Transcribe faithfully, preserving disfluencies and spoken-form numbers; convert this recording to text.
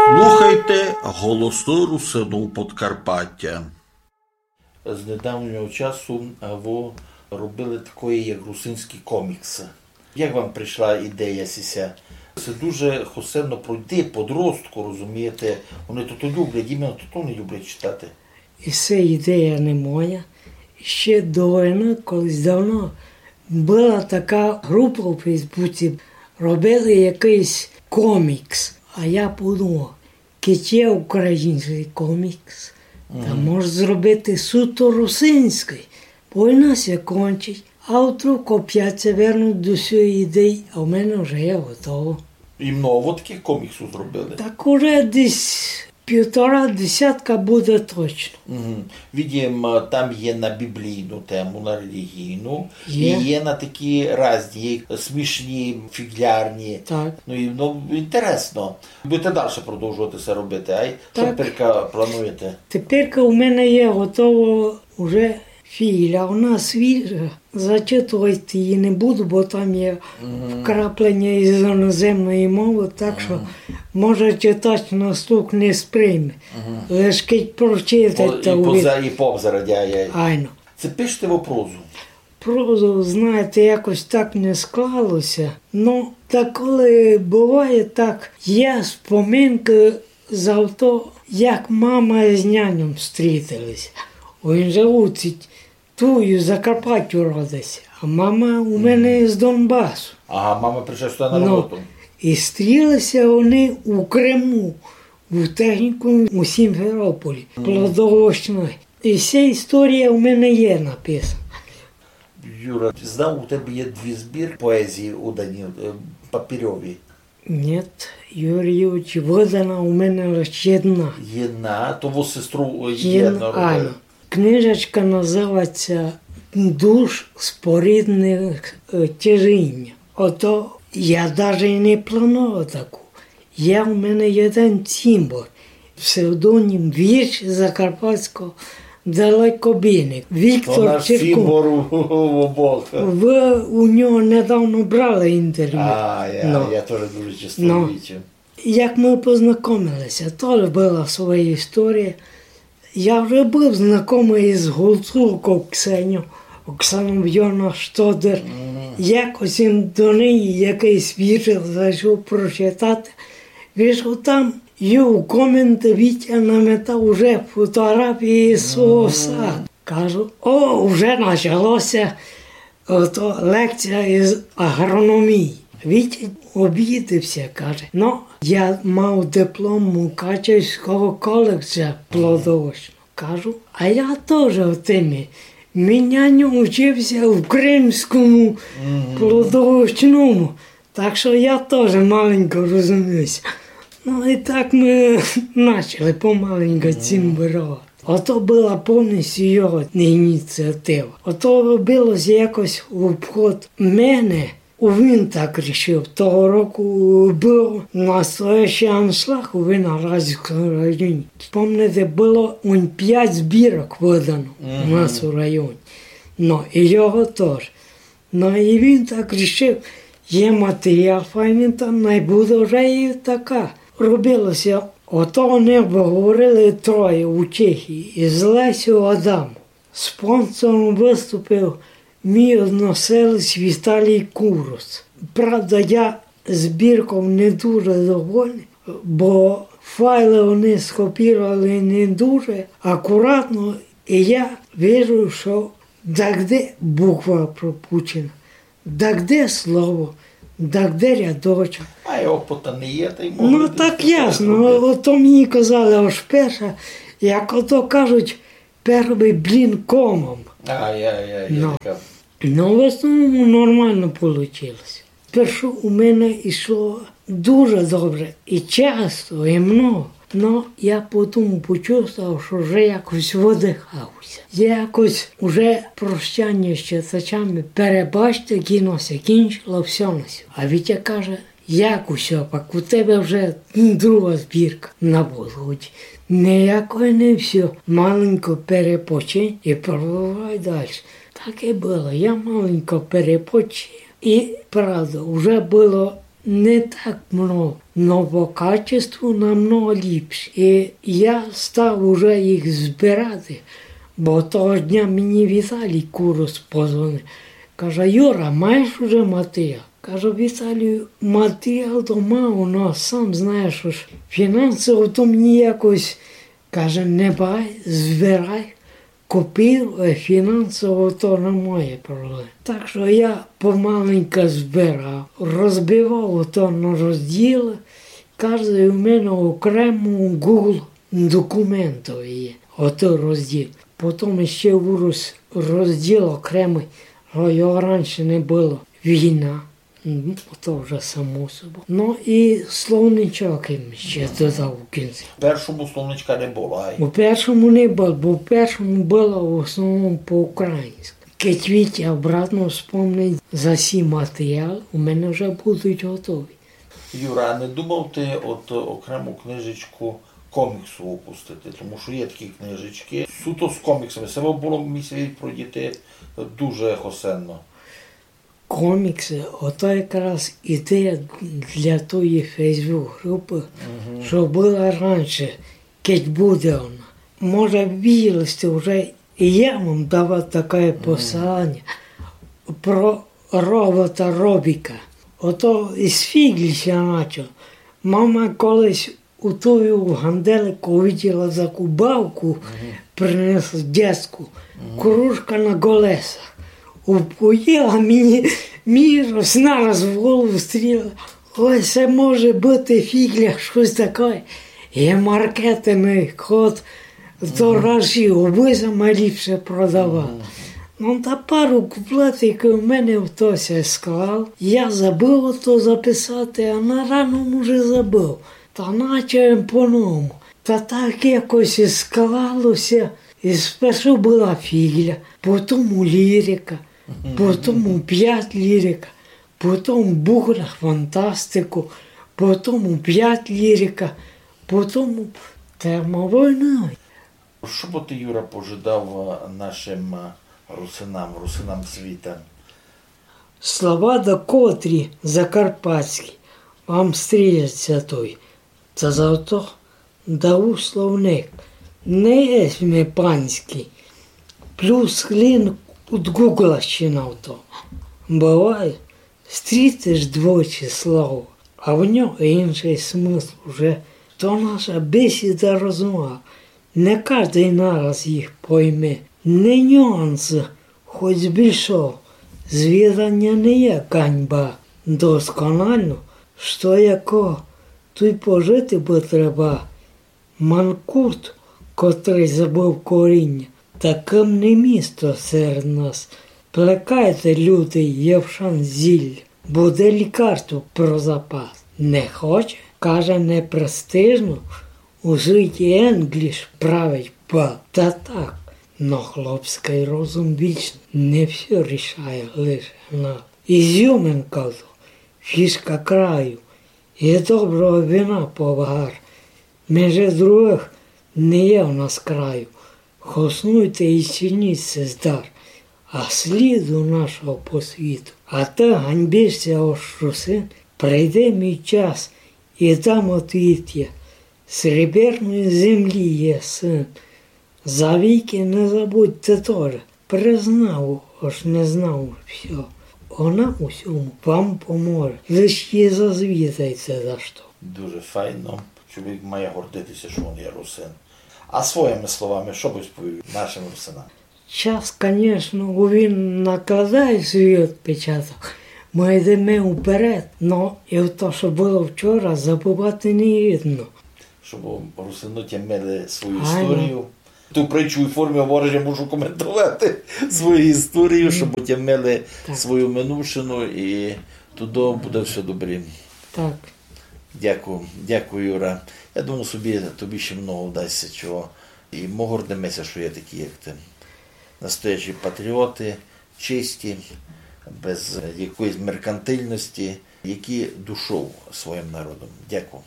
Слухайте Голосы Русинув Подкарпатя. З недавнього часу, а, вы робили такоє, як русинські коміксы. Як вам пришла ідея сися? Се дуже хосено пройти подростку, розумієте? Они то, то люблять, іменно то, то они люблять читати. И се ідея не моя. Ще до войны, колись давно, была така група у Фейсбуці, робили якыйсь комікс. А я подумав, кидь є українськый комікс, та мож зробити суто русинськый. Война ся кончить, а вдруг опять ся вернуть до сьої ідеї, а в мене вже є готово. И много такых коміксув зробили? Так уже десь півтора десятка буде точно. Мгм. Видим, а, там є на біблійну тему, на релігійну, Є. И є на такі разні, смішні, фіґлярні. Так. Ну, и, ну, інтересно. Будете дальше продовжовати се робити, ай? Што теперка плануєте? Теперка у мене є готово уже фіґля, вона свіжа. Зачитовати її не буду, бо там є вкраплення из іноземної мовы, так што, може, читач на слух не сприйме. Лиш кидь прочитать, та увидить. И повзирать, ай, ай. Айно. Се пишете вы прозу? Прозу, знаєте, якось так не склало ся. Ну, та коли буває так, є споминкы за то, як мама из няньом стрітили ся. Він же у цій, туй, у Закарпаттю родив ся, а мама у мене из Донбасу. Ага, мама пришла сюды на роботу. И стріли ся они у Криму, у технікумі у Сімферополі, плодовочной. И вся історія у мене є написана. Юра, знав, у тебе є дві збіркы поезії удані, е, папірьові. Нєт, Юрій Юрійович, выдана у мене лиш єдна. Єдна, то вы з сестров, е, єдно робили. Айно. Книжечка называть ся «Душ спорідних, е, тяжіння». Ото я даже й не планував таку. Є у мене єден цімбор, псевдонім вірш закарпатського далекобійник. Віктор Чиркун. То наш цімбор у, у обох. Вы у нього недавно брали інтервю. А, я, я тоже дуже часто бачив. Як мы познакомили ся, тоже была своя історія. Я вже быв знакомый из Гуцулков Ксеньов, Оксанов Йона Штодер. Якось им до неї якыйсь вірш зайшов прочитати. Вижу, там й у коменты Вітя наметав уже фотографії свого саду. Кажу: «О, уже начало ся». Ото лекція из агрономії. Вітя обідив ся, каже: «Ну, я мав диплом Мукачевського коледжа плодовочного». Кажу: «А я тоже в темі. Мій няньо учив ся в Кримському плодовочному, так што я тоже маленько розумію ся». Ну, и так мы начали помаленько цімборовати. Ото была повністю його ініціатива. Ото робило ся якось в обход мене. Він так рішив. Того року быв настоящый аншлаг у Виноградському районі. Спомните, было он пять збірок выдано у нас у районі. Ну, и його тоже. Ну, и він так рішив, є матеріал файный, та най буде вже и така. Робило ся, ото они выговорили троє у Чехії из Лесю Адам. Спонсором выступив мій односелець Віталій Курус. Правда, я збірков не дуже довольный, бо файлы они скопіровали не дуже акуратно, и я вижу, што дагде буква пропущена, дагде слово, дагде рядочок. А й опыта не є, та й... Ну, так ясно. Ото мені казали, ож перша, як ото кажуть, первый блін комом. Ай-яй-яй, ну. Ну, в основному нормално получило ся. Спершу у мене йшло дуже добре, и часто, и много. Но я потім почувствовав, што вже якось выдыхав ся. Я якось уже прощання з читачами, перебачте, кіно ся кінчило, всьо на сьо. А Вітя каже: «Як усьо, пак у тебе вже друга збірка на подході. Ніякої не всьо, маленько перепочинь и продовжай дальше». Так и было, я маленько перепочив. И правда, уже было Не так много, но по качеству намного ліпше. І я став уже їх збирати, бо того дня мені Віталій Курус позвонив. Каже: «Юра, маєш уже матеріал?» Кажу: «Віталію, матеріал то мав, но сам знаєш, ож фінансово то мені якось», каже, «не бай, збирай, копіруй, фінансово то не моє проблема». Так што я помаленьку збирав, розбивав то на розділы. Каждый у мене окремо у Google документови є отой розділ. Потом іщи вырос розділ окремый, што його раніше не было. Війна. М, то вже само собою. Но і словничок им іщи додав у кінці. Першому словничка не было, ай? У першому не было, бо в першому было в основному по-українськы. Кедь Вітя обратно вспомнить за сі матеріал, у мене вже будуть готові. Юра, а не думав ты от окрему книжечку коміксу выпустити? Тому што є такі книжечкы, суто з коміксами. Се бы было, мені ся видить, про дітей дуже хосенно. Коміксы, ото якраз ідея для тої Facebook-групы, што была раніше, кедь буде она. Може, виділи сьте вже, і я вам давав таке посилання про робота Робіка. Ото із фіґлі ся начав. Мама колись у тую ганделику увиділа закубавку, принесла дєтську, кружка на колесах. Упоїла мені, мені раз нараз в голову стріла. Ой, се може быти фіґля, штось таке. Є маркетинґ, ход, то раз і обы сама ліпше продавала. Ну, та пару куплетів у мене в то ся склав. Я забыв ото записати, а на рано уже забыв. Та начав им по-новому. Та так якось і склало ся. І спершу была фіґля, потім лірика, потім опять лірика, потім бугра фантастику, потім опять лірика, потім тема войны. Што бы ты, Юра, пожадав, е, нашым, е, русинам, русинам світа? Слова докотрі закарпатські, вам стрілять ся той. Та зато дав словник, не єсмь панськый. Плюс лінк од Гуґла ще на то. Быває, стрітиш двойче слово, а в нього іншый смысл уже. То наша бесіда розмова. Не каждый нараз їх пойме. Не нюансы, хоть збільшо. Звіданя не є ганьба. Досконально, што яко, туй пожити бы треба. Манкурт, котрый забыв коріння, такым не місто серед нас. Плекайте, люди, євшан зіль, буде лікарство про запас. Не хоче, каже, непрестижно, у світі Енгліш править бал. Та так, но хлопськый розум вічный, не всьо рішає лише гнат. Ізюминка то, фішка краю, є доброго вина повар. Межи другых не є в нас краю. Хоснуйте і цініть сей дар, а сліду нашого по світу. А ты ганьбиш ся, ож русин, прийде мій час, і дам отвіт я. Сріберної землі є сын. Завіки не забудьте тоже. Признав, ож не знав всьо. Она у сьому вам поможе. Лиш її зазвідайте за што. Дуже файно. Чоловік має гордити ся, што він є русин. А своїми словами, што бы сповів нашым русинам? Час, конечно, він накладає свій отпечаток. Мы йдеме уперед, но і в то, што было вчора, забывати не годно. Щоб русины тямили свою історію. Ту притчу у формі говориш, я мушу коментовати свою історію, щоб тямили свою минувшину, і туды буде всьо добрі. Так. Дякую, дякую, Юра. Я думаю собі, тобі ще много вдасть ся чого. І мы гордиме ся, што є такі, як ты. Настоящі патріоты, чисті, без якоїсь меркантильности, які душов своїм народом. Дякую.